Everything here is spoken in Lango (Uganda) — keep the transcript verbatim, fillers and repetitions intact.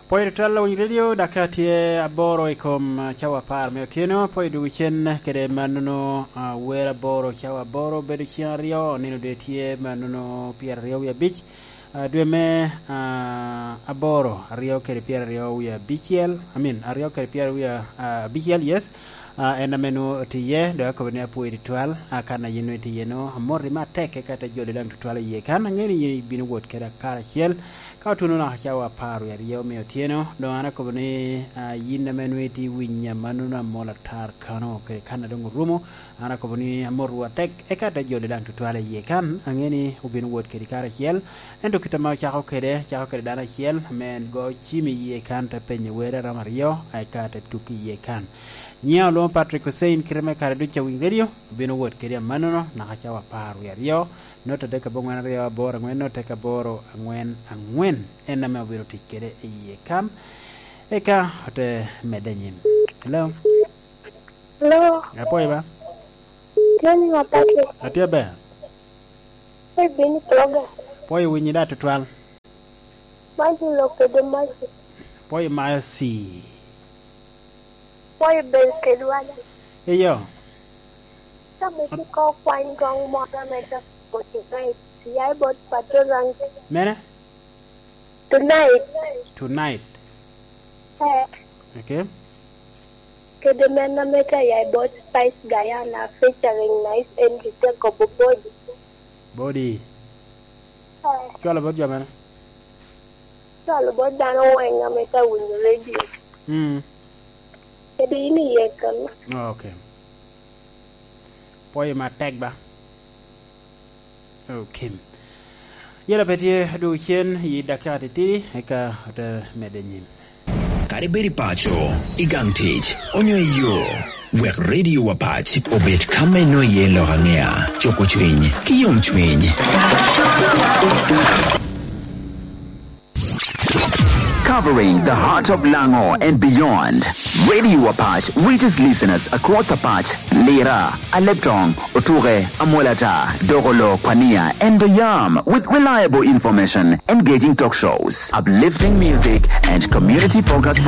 Pwoyo tutwal Lawiny Radio, dakika tye aboro i kom, ah, cawa apar me otyeno. Pwoyo dwogo cen kede mannono, ah, wer aboro cawa aboro bedo cen aryo, nino doŋ tye mannono pyeraryo wie abic, ah, dwe me, ah, aboro, aryo kede pyeraryo wie abicel, I mean, aryo kede pyeraryo wie, ah, abicel, yes. Ah, en ame nwoŋo otye iye, dok akobo ni apwoyi tutwal, ah, kan a yin nwoŋo itye iye-nu, amoti matek, eka te joli daŋ tutwal i yie kan, aŋeo ni yin ibino wot keda karacel, ka otuno naka cawa apar wie aryo me otyeno, doŋ an akobo ni, ah, yin ame nwoŋo itye winyo amannono amol atar kano, kede kan a doŋ orumo, an akobo ni amotwu atek, eka te joli daŋ tutwal i yie kan, aŋeo ni obino wot kedi karacel, ento kit ame ocako kede, cako kede dano acel, ame en go cim i yie kan, te penyo wer a romo aryo, eka te tuk i yie kan. Nyiŋa olwoŋo Patrick Hussein, kite me kare ducu a Winy Radio, obino wot kede amannono, naka cawa apar wie aryo, note adek aboŋwen aryo aboro aŋwen, note adek aboro aŋwen aŋwen, en ame obino tic kede i yie kan, eka ote medde anyim. Hello? Hello? Apwoyo ba? Tye ni wa Patrick? Atye ber. Pe bino i program. Pwoyo winyi da tutwal. Man tye lok kede Mercy. Pwoyo Mercy. Pwoyo bed kedwa da. Eyo. Ka bed ikoŋ kwany goŋ moro ame dok forty-nine, ya i bot Pato Rangi. Mene? Tonight. Tonight. Eh. Okay. Kede men ame tye ya i bot Spice Diana featuring Nice Enrique kobo Body. Body. Eh. Cwalo bot jo mene? Cwalo bot dano weng ame tye winyo radio. Mm. Kede in iye kano. Okay. Pwoyo matek ba. Okay. Yela pe tye dwogo cen i dakika titidi, eka ote medde nyim. Kadi bed i paco, i gang tic, onyo i yo, wek Radio Wapac obed ka me nwoŋo iye lok aŋea, cuko cwiny, ki yom cwiny. Covering the heart of Lango and beyond, Radio Apach reaches listeners across Apach, Lira, Aleptong, Otuke, Amolata, Dogolo, Kwania, and Oyam with reliable information, engaging talk shows, uplifting music, and community-focused